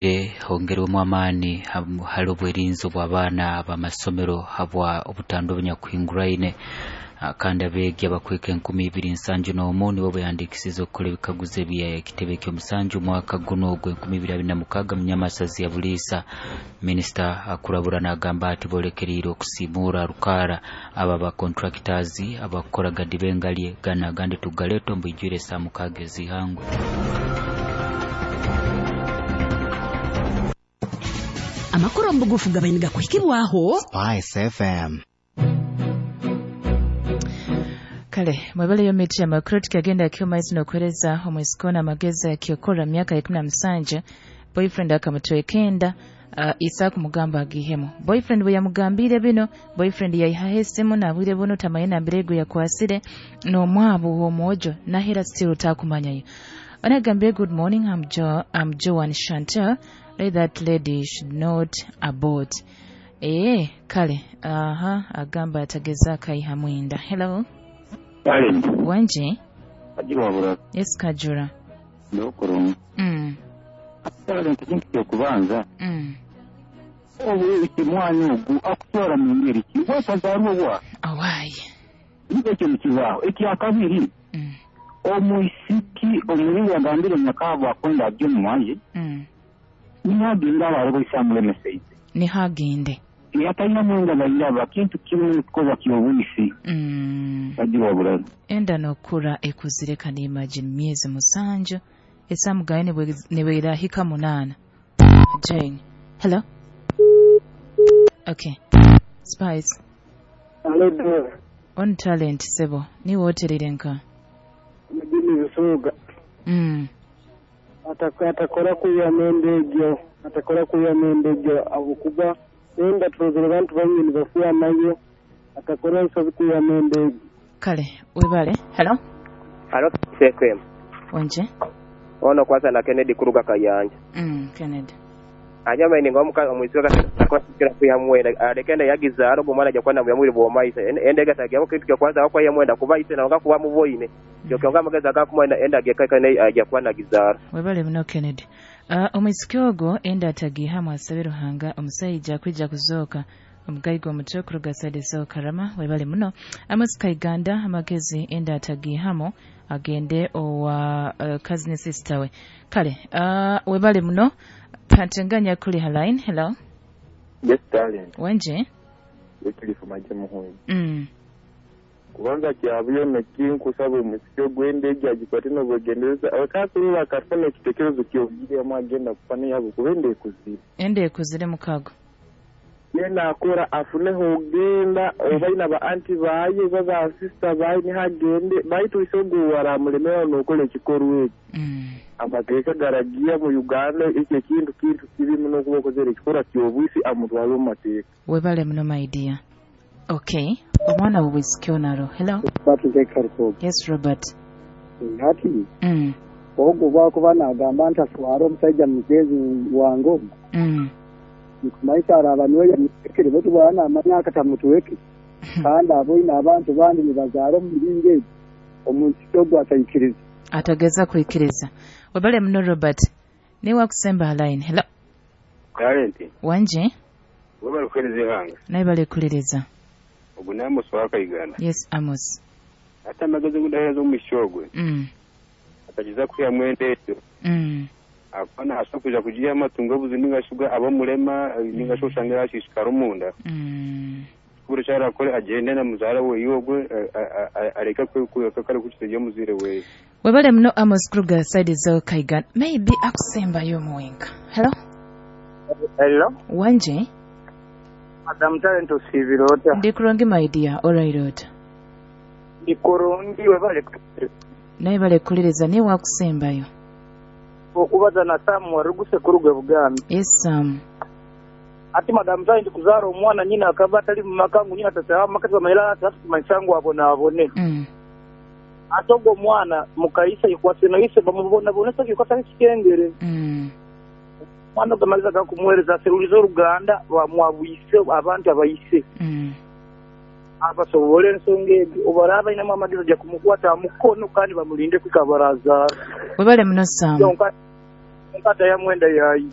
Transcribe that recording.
Hongerwemu amaani hali obwerinzi obw'abaana b'amasomero habwa obutando obunyakuhinguraine. Kandi abeegi abakweka 2071 nibo beyandiikisize okukora ebikaguzo eby'ekitebe ky'omusanju omwaka guno ogw'2026 mu Nyamasazi ya Buliisa. Minisita akurabura n'agamba ati boolekeriire okusiimuura rukaara abo abakontractors abakukora gadibengalye gana agandi tugaleeta omu bwijwire saa 6 ez'ihangwe. Amakuru omu bugufu gabaine gakuhikibwaho Spice FM. Kale mwebaleyo miti amakuru tukagenda kyomaizi n'okuhereza omwisikona amagezi akyokora myaka 17 boyfriend akamutwekenda isa kumugamba agihemu. Boyfriend bwe yamugambire bino, boyfriend yayihaho esimu nabwire buno tamaye nambirego yakwasire n'omwabu w'omwojo nahera still takumanyayo. Anagambire good morning, I'm Joan Chantel. That lady should not abort. Kale aha agamba atageza akaiha mwinda. Hello. Kale. Wanje? Kajura bura. Yes, Kajura. Ndokoro. Kale nkintu kyokubanza. Obu kimwanyu ogu akutora mu ngeri ki? Watazaarwa. Awayi. Nibyo mukibaho ekyakabiri. Omwisiki omulingo yagambire nyakabo akonda ajye muwanje. Nihagenda abarobesa mulemeseize. Nihagende. Yatayina mwenda bayiraba kintu kimwe kukoza kyobuyisi. Bagiwa bulala. Enda nokura ekuzire kandi imagine myezi 7 esamugaye nebwerahika 8. Jane. Hello. Okay. Spice. Hello. On talent sebo ni woterere nka. Mjini Busoga. Atakora kuya mendegyo, atakora kuya mendegyo abukuba enda turozere bantu bamwe nibafuya nayo atakora nsobi kuya mendegyo. Kale webale. Hello. Hello sekwem. Wanje. Ono kwasa na Kennedy kuruga Kayanja. Kennedy. Anyama ni ngomuka omwisika kwa kuya mwenda alekenda yagiza aro gumana ja kwana muyamuri bomaisa endega tagiya kitu kya kwanza kwa yamwenda kuba ise na kuba muboine kyonga amagezi agakumwenda enda gekaka ne ajja kwana gizara. Webale muno Kennedy. Omwisiki ogwo enda atagihamu asabe Ruhanga omusajja kwija kuzooka omugaiga omutwe kuruga side z'okarama. Webale muno. Amos Kaiganda amagezi enda atagihamu agende owa cousin sister we. Kale webale muno. Patenganya kuli line. Hello. Yes darling. Wanje? Wekilifu maje muhuyi. Kubanza kyabuyo nekinkusaba omusiki ogw'endege agikwate n'obwegendereza abakaakuru bakafuna ekitekerezo ky'obugire agenda kufana yabo kuba enda ekuzire. Enda ekuzire mukago. Yena akora afuneho ogenda oba ina ba anti baye oba ba sister baye nihagende baitu isogo waramulemera n'okola ekikorwa ekyo. Amateeka garagiya mu Uganda ekyo ekintu kintu kibi muno okuba okozere ekikorwa ky'obwisi amutwale omu mateeka. Webale muno my dear. Okay. Omwana w'obwisiki onaro. Hello. Yes, Robert. Hati. Ogwo bwakuba nagamba nti atwara omusajja mugezi wange ogwo. Nkumaisa araba niwe yamutekere bwetu bwana amanya akatamutweke. Kandi aboine abantu bandi nibazaara omu miringo egyo. Omuntu ogwo atayikiriza. Atageza kuikiriza. Webale muno Robert. Niwe akusemba line. Hello. Talent. Wanje? Webale kuhereza ihanga. Naye bale kuliriza. Ogu ni Amos wa Kaiganda. Yes, Amos. Ate amagezi gudaheeza omuishiki ogwe. Atagiza kwiha mwenda ekyo. Akona asobola kuja kugiha amatungo obuzibu ninga shi abamurema ninga shi osanga yashishikara omunda. Kubura ekyarakore agende na muzaara weeye ogwe areke kare kukitega omuzaire weeye. Webale muno Amos Kruger side zo Kaiganda. Maybe akusembayo omuwenka. Hello. Hello. Wanje? Madam Talent osibira ota? Ndi kurungi my dear, alright ota. Ndi kurungi webale. Naye bale kuliriza niwe wakusembayo. Okubaza na Sam waruguse kuruga Buganda. Yes Sam. Ati Madam Talent kuzaara omwana nyina akaba atali mu maka ngu nyina tataha maka bamanyira ati tumanyisangu abone. Ate ogwo omwana mukaisa ikwase naise bamubonabonesa kikwasa ekikengere. Mwana gamaliza gakumuhereza aseruliza oruganda bamwabwise abantu abayise. Abasobole ensonga egyo obaraba bainamu amagezi ajja kumukwata mukono kandi bamulinde kwika barazaara. Webale muno Sam. Nkata ya mwenda yayi.